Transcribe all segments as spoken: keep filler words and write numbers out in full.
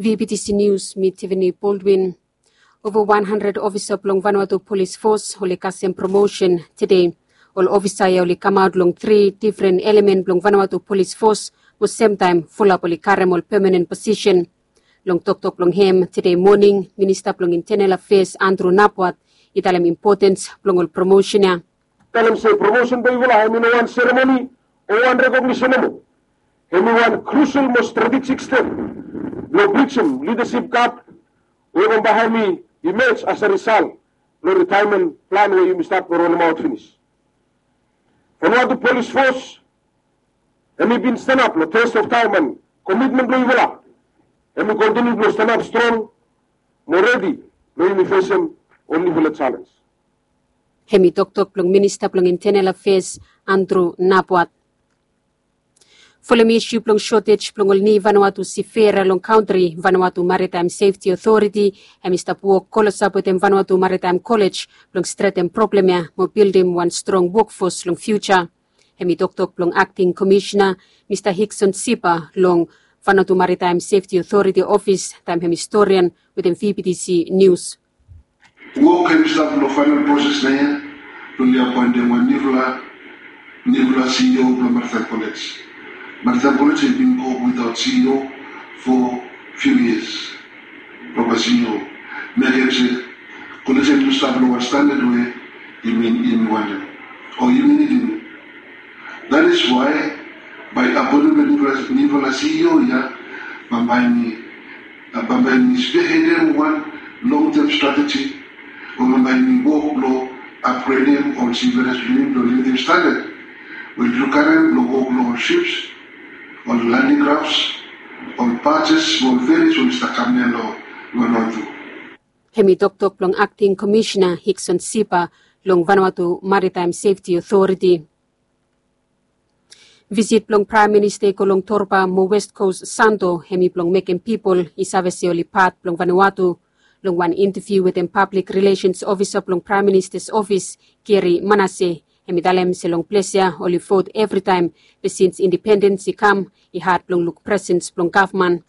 V B T C News, mi Tiffany Baldwin. Ova wan handred ofisa blong Vanuatu Polis Fos oli kasem promosen tede. Ol ofisa ya oli kamaot long tri difren elemen blong Vanuatu Polis Fos, mo semtaem fulap oli karem ol pemanen posisen. Long toktok blong hem tede moning, Minista blong Intenel Afeas Andrew Napwat i talem impotens blong ol promosen ya. Talem se promosen blong yufala hemi no wan seremoni o wan rekognisin nomo. Hemi wan krusel mo stratejik step blong brijim lidasip gap we bambae hemi imej as a risal blong ritaemen plan we yumi stat blong rolemaot finis. Vanuatu Polis Fos hemi bin stanap long test of taem an komitmen blong yufala. Hemi kontiniu blong stanap strong mo redi blong yumi fesem ol niufala jalenj. Hemi toktok blong Minista blong Intenel Afeas Andrew Napwat. Folem isu blong sotej blong ol ni Vanuatu sifera long kantri, Vanuatu Maritime Safety Authority hemi stap wok klosap wetem Vanuatu Maritime College blong stretem problem ya mo bildim wan strong wokfos long fiuja. Hemi toktok blong Akting Komisina Mista Hikson Sipa long Vanuatu Maritime Safety Authority ofis taem hemi storian wetem V B T C News. Wok hemi stap long faenal proses naoia blong oli apoentem wan niufala niufala C E O blong Maritime College. Maritime College hemi bin go witaot C E O fo fiu yias. Propa C E O mekem se college hemi stap long wan standad we yumi yumi wantem o yumi nidim. That is why bae apoentem blong niufala C E O ya bambae hemi bambae hemi spehedem wan long tem strateji o bambae hemi wok blong apgredem ol siveras blong yumi blong limitim standad we oli karem blong wok long ol sips, ol landing grafs, ol bajes mo ol feris we oli stap kam ya long Vanuatu. Hemi toktok blong Akting Komisina Hikson Sipa long Vanuatu Maritime Safety Authority. Visit blong Praem Minista i go long Torba mo West Kos Santo hemi blong mekem pipol i save se oli pat blong Vanuatu. Long wan inteviu wetem pablik rilesens ofisa blong Praem Minista's ofis, Gary Manase, hemi talem se long ples ya oli vot evritaem, be sins indipendens i kam i had blong luk presens blong gavman.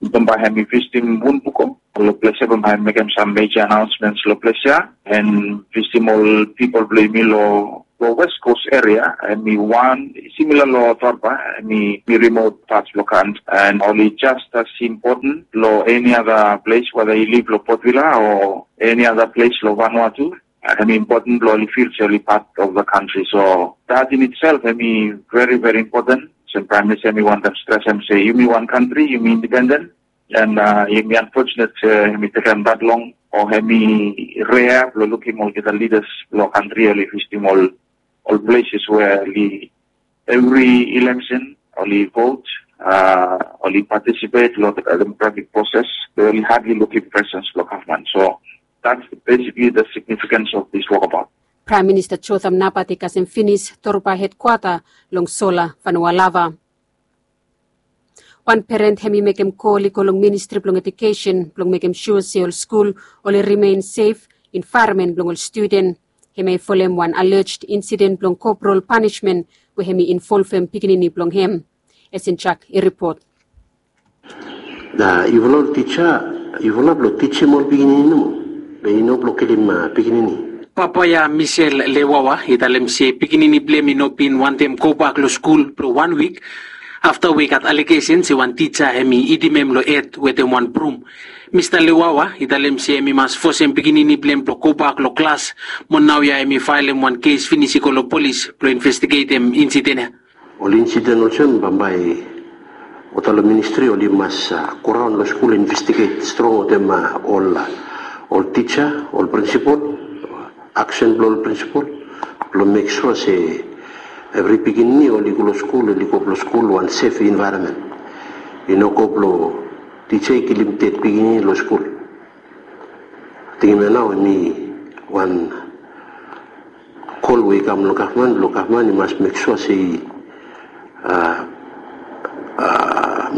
Bambae hemi visitim Wunpuko long ples ya, bambae hemi mekem sam meja anaonsmens long ples ya, and visitim ol pipol blong yumi long long West Kos eria. Hemi wan simila long Torba, hemi rimot pat blong kantri, and oli jes as impoten long eni ada ples, weda i liv long Port Vila o eni ada ples long Vanuatu. Hemi impoten blong oli fil se oli pat of the kantri. So that in itself hemi veri veri impoten. Olsem Praem Minista hemi wantem stresem se yumi wan kantri, yumi indipenden. And hemi anfojenet se hemi tekem that long o hemi rea blong lukim olgeta lidas blong kantri oli visitim ol ol ples we oli evri ileksen oli vot, oli patisipet long demokratik proses, be oli hadli lukim presens blong gavman. So that's basically the significance of this walkabout. Praem Minista Jotham Napat i kasem finis Torba hedkwata long Sola, Vanualava. Wan peren hemi mekem kol i go long Ministri blong Ejukesen blong mekem sua se ol skul oli rimen sef envaeronmen blong ol studen. Hemia i folem wan alej insiden blong kopral panismen we hemi involvem pikinini blong hem. Esin Jak i ripot. Na yufala ol tija, yufala blong tijim ol pikinini nomo, be i no blong kilim pikinini. Papa ya Misel Lewawa i talem se pikinini blong hem i no bin wantem gobak long skul blong wan wik afta we i gat alegesen se wan tija hemi itim hem long hed wetem wan brum. Mista Lewawa i talem se hemi mas fosem pikinini blong hem blong gobak long klas, mo naoia hemi faelem wan kes finis i go long polis blong investigetem insiden ya. Ol insiden olsem bambae olgeta long ministri oli mas goraon long skul investiget strong wetem ol ol tija, ol prinsipol, aksen blong ol prinsipol blong mek sua se evri pikinini oli go long skul, oli go long skul wan sef envaeronmen. I no go blong tija i kilim ded pikinini long skul. Tingim ya nao hemi wan kol we i kam long gavman blong gavman i mas mek sua se i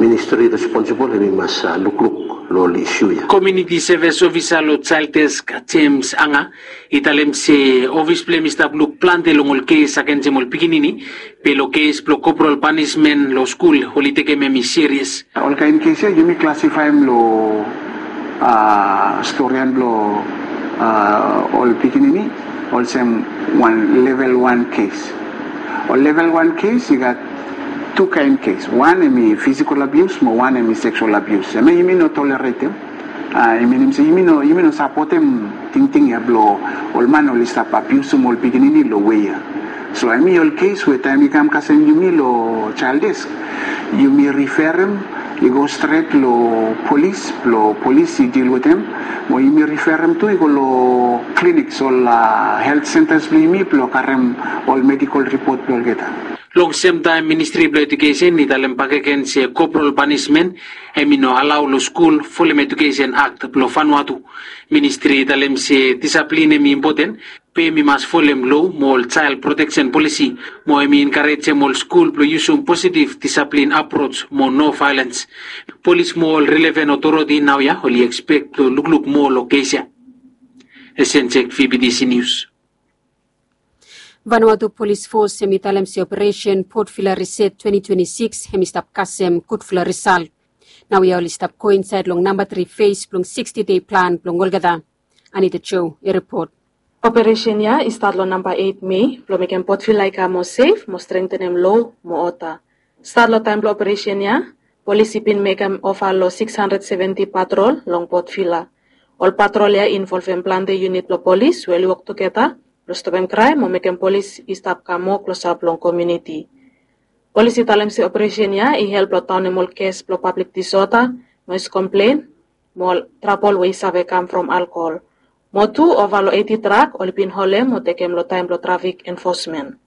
Ministri responsibol hemi mas lukluk long ol isu ya. Komuniti sevis ofisa long Child Desk, James Anga, i talem se ofis blong hem i stap luk plante long ol kes agensem ol pikinini, be long kes blong korporal panismen long skul oli tekem hem i serias. Olkaen kes ya yumi klasifaem long storian blong ol pikinini olsem wan level wan kes. Ol level wan kes i gat tu kaen kes. Wan hemi fisikol abius mo wan hemi seksual abius. Hemia yumi no toleretem. I minim se yumi no yumi no sapotem tingting ya blong ol man oli stap abiusim ol pikinini long wei ya. So hemi ol kes we taem i kam kasem yumi long Child Desk, yumi riferem i go stret long polis blong polis i dil wetem, mo yumi riferem tu i go long kliniks, ol helt sentas blong yumi blong karem ol medikol ripot blong olgeta. Long semtaem ministri blong edukesen i talem bakegen se korporal panismen hemi no alao long skul folem edukesen akt blong Vanuatu. Ministri i talem se disaplin hemi impoten, be hemi mas folem lo mo ol jael proteksen polisi, mo hemi enkarejem ol skul blong yusum positiv disaplin aproj mo no vaelens. Polis mo ol rileven otoriti naoia oli ekspek blong lukluk moa long kes ya. Esenjek, V B T C News. Vanuatu Polis Fos hemi talem se operesen Port Vila Riset twenti twenti sikis hemi stap kasem gudfala risal. Naoia oli stap go insaed long namba tri fes blong siksti dei plan blong olgeta. Anita Jo i ripot. Operesen ya i stat long namba eit Mei blong mekem Port Vila i kam moa sef mo strengtenem lo mo oda. Stat long taem blong operesen ya, polis i bin mekem ova long sikis handred seventi patrol long Port Vila. Ol patrol ya i involvem plante yunit blong polis we oli wok tugeta blong stopem kraem mo mekem polis i stap kam moa klosap long komuniti. Polis i talem se operesen ya i help long daonem ol kes blong pablik disoda, noes komplen, mo ol trabol we i save kam from alkohol. Mo tu ova long eiti trak oli bin holem mo tekem long taem blong trafik enfosmen.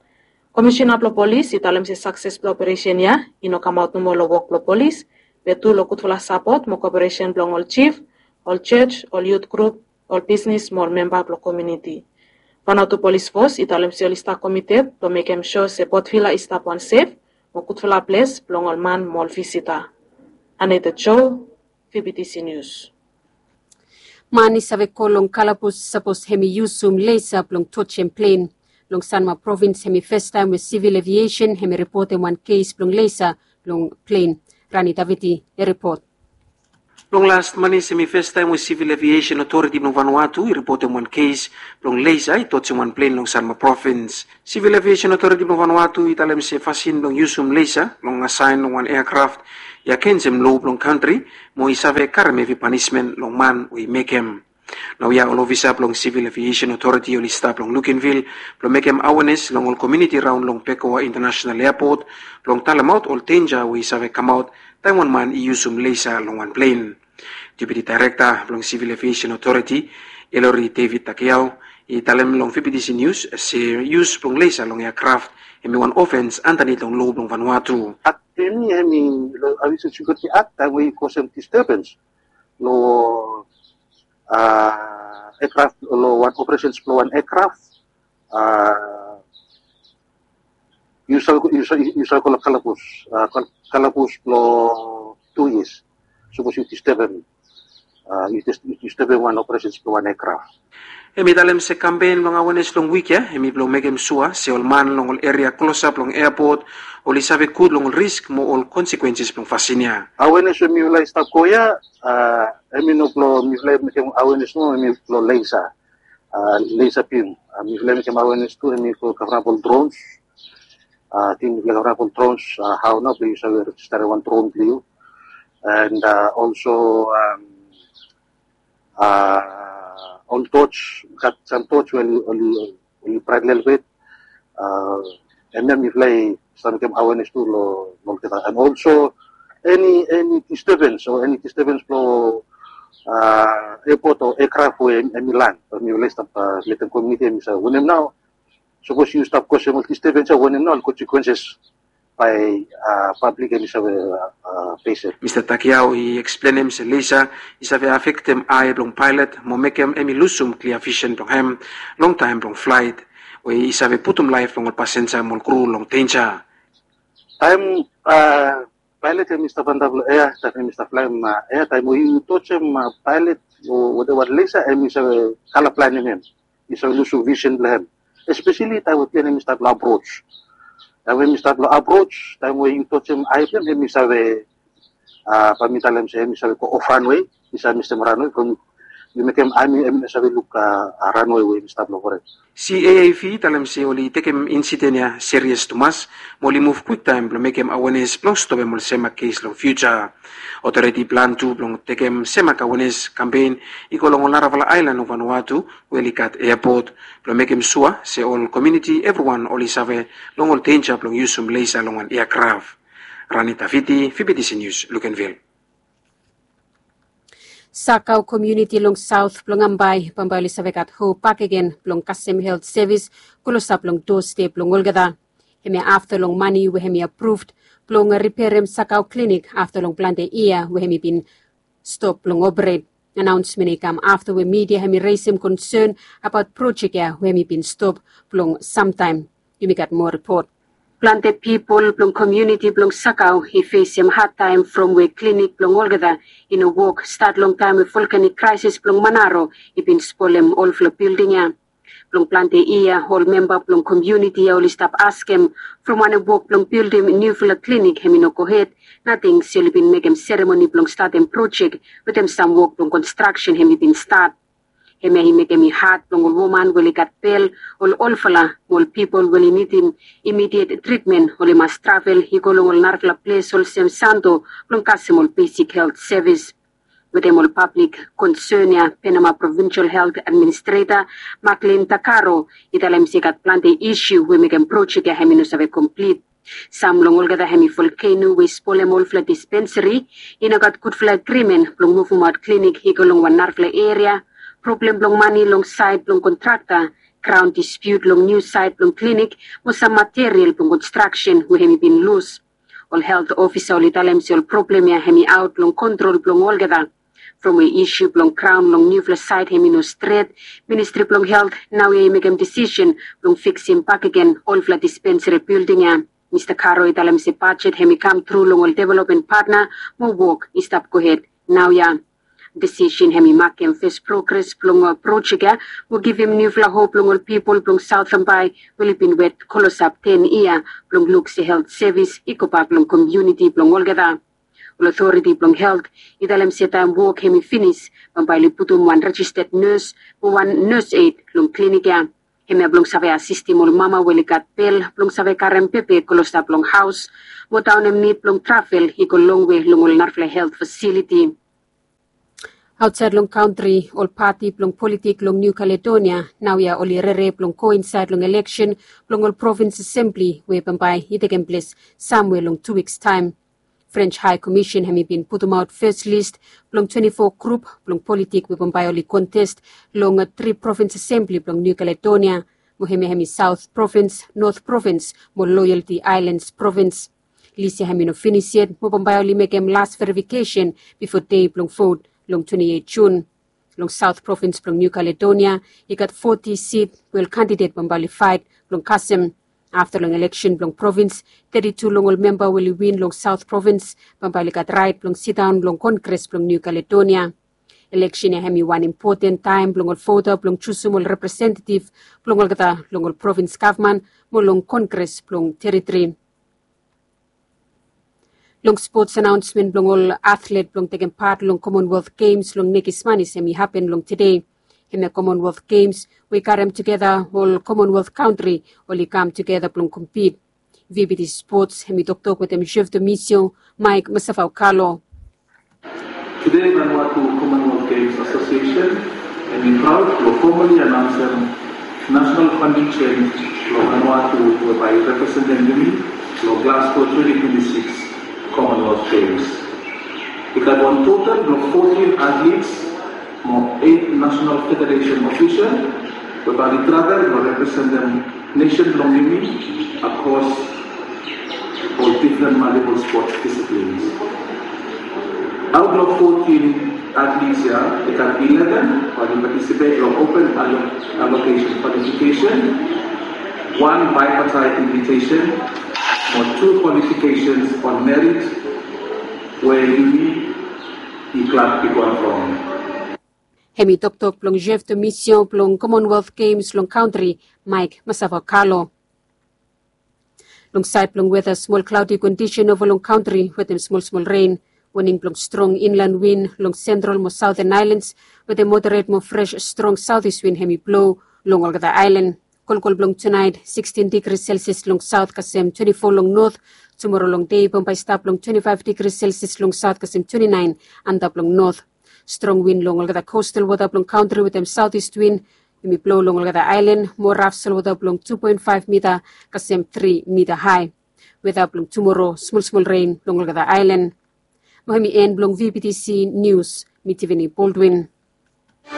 Komisina blong polis i talem se sakses blong operesen ya i no kamaot nomo long wok blong polis, be tu long gudfala sapot mo koperesen blong ol jif, ol jos, ol yut grup, ol bisnis mo ol memba blong komuniti. Vanuatu Polis Fos i talem se oli stap komited blong mekem sua se Port Vila i stap wan sef mo gudfala ples blong ol man mo ol visita. Anita Jo, V B T C News. Man i save go long kalabus sapos hemi yusum lesa blong tojem plen. Long Sanma Provins hemi fastaem we Sivil Aviesen hemi ripotem wan kes blong lesa blong plen. Rani Daviti i ripot. Long las manis hemi fastaem we Sivil Aviesen Otoriti blong Vanuatu i ripotem wan kes blong lesa i tojem wan plen long Sanma Provins. Sivil Aviesen Otoriti blong Vanuatu i talem se fasin blong yusum lesa blong asaen long wan eakraf i agensem lo blong kantri mo i save karem hevi panismen long man we i mekem. Naoia ol ofisa blong Sivil Aviesen Otoriti oli stap long Luganville blong mekem awenes long ol komuniti raon long Bekoa Intanasenal Eapot blong talemaot ol denja we i save kamaot taem wan man i yusum lesa long wan plen. Deputi Daerekta blong Sivil Aviesen Otoriti, Elori David Takiao, i talem long V B T C Nius se yus blong lesa long eakraf hemi wan ofens andanit long lo blong Vanuatu. Akt blong yumi hemi long Aviesen Sekiuriti Akt taem we i kosem distebens long eakraf, long wan operesens blong wan eakraf, yu save go long kalabus, kalabus blong tu yias sapos yu distebem, yu distebem wan operesens blong wan eakraf. Hemi talem se kampen blong awenes long wik ya hemi blong mekem sua se ol man long ol eria klosap long eapot oli save gud long ol risk mo ol konsekwenses blong fasin ya. Awenes we mifala i stap go ya, hemi no blong mifala i mekem awenes nomo, hemi blong lesa, lesa bim. Mifala i mekem awenes tu hemi go kavram ol drons. Ting mifala i kavram ol drons, hao nao blong yu save rejistarem wan dron blong yu. And also ol toch, gat sam toch we oli braet lelebet. Hemia mifala i stap mekem awenes tu long olgeta. And also eni, eni distebens o eni distebens blong eapot o eakraf we hemi lan, mifala i stap letem komuniti hemi save wanem nao. Sapos yu stap kosem ol distebens ya, wanem nao ol konsekwenses bae pablik hemi save fesem. Mista Takiao i eksplenem se lesa i save afektem ae blong paelot mo mekem hemi lusum klia visen blong hem long taem blong flaet, we i save putum laef blong ol pasenja mo ol kru long denja. Taem pailet hemi stap antap long ea taem hemi stap flaem ea, taem we yu tojem pailet o whatever lesa, hemi save kala blaenem hem, yu save lusim visen blong hem. Espeseli taem we plen hemi stap long aproach. Taem we hemi stap long aproach, taem we yu tojem ae blong hem, hemi save, bae mi talem se hemi save go of ranwe, yu save mistem ranwe from yu mekem ami hemi no save luk ranwe we hemi stap long foren. CAAV i talem se oli tekem insiden ya serias tumas, mo oli muv kwiktaem blong mekem awenes blong stopem ol semak kes long fiuja. Otoriti i plan tu blong tekem semak awenes kampen i go long ol narafala aelan long Vanuatu we oli gat eapot, blong mekem sua se ol komuniti evriwan oli save long ol denja blong yusum lesa long wan eakraf. Rani Tafiti, VBTC News, Luganville. Sakau komuniti long saot blong Ambae bambae oli save gat hop bakegen blong kasem helt sevis klosap long doa step blong olgeta. Hemia afta long mane we hemi apruved blong riperem Sakau klinik afta long plante yia we hemi bin stop blong operet. Anaonsmen ya i kam afta we midia hemi resem konsen abaot projek ya we hemi bin stop blong samtaem. Yumi gat moa ripot. Plante pipol blong komuniti blong Sakau i fesem hadtaem from we klinik blong olgeta i no wok stat long taem we volkanik kraesis blong Manaro i bin spolem olfala bilding ya. Blong plante yia ol memba blong komuniti ya oli stap askem from wanem wok blong bildim niufala klinik hemi no gohed, nating se oli bin mekem seremoni blong statem projek wetem sam wok blong konstraksen hemi bin stat. Hemia i mekem i had blong ol woman we oli gat bel, ol olfala mo ol pipol we oli nidim imidiet tritmen oli mas travel i go long ol narafala ples olsem Santo blong kasem ol besik helt sevis. Wetem ol pablik konsen ya, Penama Provinsel Helt Administreta Maklin Takaro i talem se i gat plante isiu we mekem projek ya hemi no save komplit. Sam long olgeta hemi volkeno we i spolem olfala dispensari, i no gat gudfala agrimen blong muvumaot klinik i go long wan narafala eria, problem blong mane long saed blong kontrakta, graon dispiut long niu saed blong klinik, mo sam material blong konstraksen we hemi bin lus. Ol helt ofisa oli talem se ol problem ya hemi aot long kontrol blong olgeta. From we isiu blong graon long niufala saed hemi no stret, Ministri blong Helt naoia i mekem disisen blong fiksim bakegen olfala dispensari bilding ya. Mista Karo i talem se bajet hemi kam tru long ol developmen patna mo wok i stap gohed naoia. Disisen hemi makem fes progres blong projek ya mo givim niufala hop long ol pipol blong Saot Ambae we oli bin wet klosap ten yia blong luk se helt sevis i gobak long komuniti blong olgeta. Ol otoriti blong helt i talem se taem wok hemi finis, bambae oli putum wan rejisted nes mo wan nes ed long klinik ya. Hemia blong save asistem ol mama we oli gat bel blong save karem bebe klosap long haos mo daonem nid blong travel i go longwe long ol narafala helt fasiliti. Aotsaed long kantri, ol pati blong politik long Niu Kaledonia naoia oli rere blong go insaed long eleksen blong ol provins asembli we bambae i tekem ples samwe long tu wiks taem. French High Commission hemi bin putumaot fes lis blong twenti fo grup blong politik we bambae oli kontest long tri provins asembli blong Niu Kaledonia, mo hemia hemi Saot Provins, Not Provins mo Loyalty Aelans Provins. Lis ya hemi no finis yet mo bambae oli mekem las verifikesen bifo dei blong vot long twenti eit Jun. Long Saot Provins blong Niu Kaledonia i gat foti sit we ol kandidet bambae oli faet blong kasem. Afta long eleksen blong provins, teti tu long ol memba we oli win long Saot Provins bambae oli gat raet blong sidaon long Kongres blong Niu Kaledonia. Eleksen ya hemi wan impoten taem blong ol vota blong jusum ol representetif blong olgeta long ol provins gavman mo long Kongres blong teritori. Long spots, anaonsmen blong ol atlet blong tekem pat long Commonwealth Games long Nekismanis hemi hapen long tede. Hemia Commonwealth Games we i karem tugeta ol Commonwealth kantri oli kam tugeta blong kompit. VBTC Spots hemi toktok wetem Chef Domisio, Mike Masafau Kalo. Tede, Vanuatu Commonwealth Games Association hemi praod blong fomali anaonsem nasenal kontingent blong Vanuatu we bae i representem yumi long Glasgow twenti twenti sikis Commonwealth Games. I gat wan total blong fotin atlets mo eit nasenal federesen ofisel we bae oli travel blong representem nesen blong yumi akros ol difren maltipol spots disiplins. Aot long fotin atlets ya, i gat ileven bae oli patisipet long open allo-, allocation kwalifikesen, wan bipartite invitesen mo tu kwalifikesens on merit Hem i toktok blong jef domisio blong Commonwealth Games long kantri, Mike Masavakalo. Long saed blong weta, smol klaodi kondisen ova long kantri wetem smolsmol ren. Waning blong strong inlan win long sentral mo saoten aelans wetem moderet mo fres strong saotis win hem i blo long olgeta aelan. Kolkol blong tunaet, sikstin digri selsias long saot kasem twenti fo long not. Tumoro long dei bambae i stap long twenti faef digri selsias long saot kasem twenti naen antap long not. Strong win long olgeta kostal wota blong kantri wetem saotis win hem i blo long olgeta aelan mo raf solwota blong tu poen faef mita kasem tri mita hae. Weta blong tumoro, smolsmol ren long olgeta aelan. Mo hem i en blong vptc nius. Mi tivini boldwin.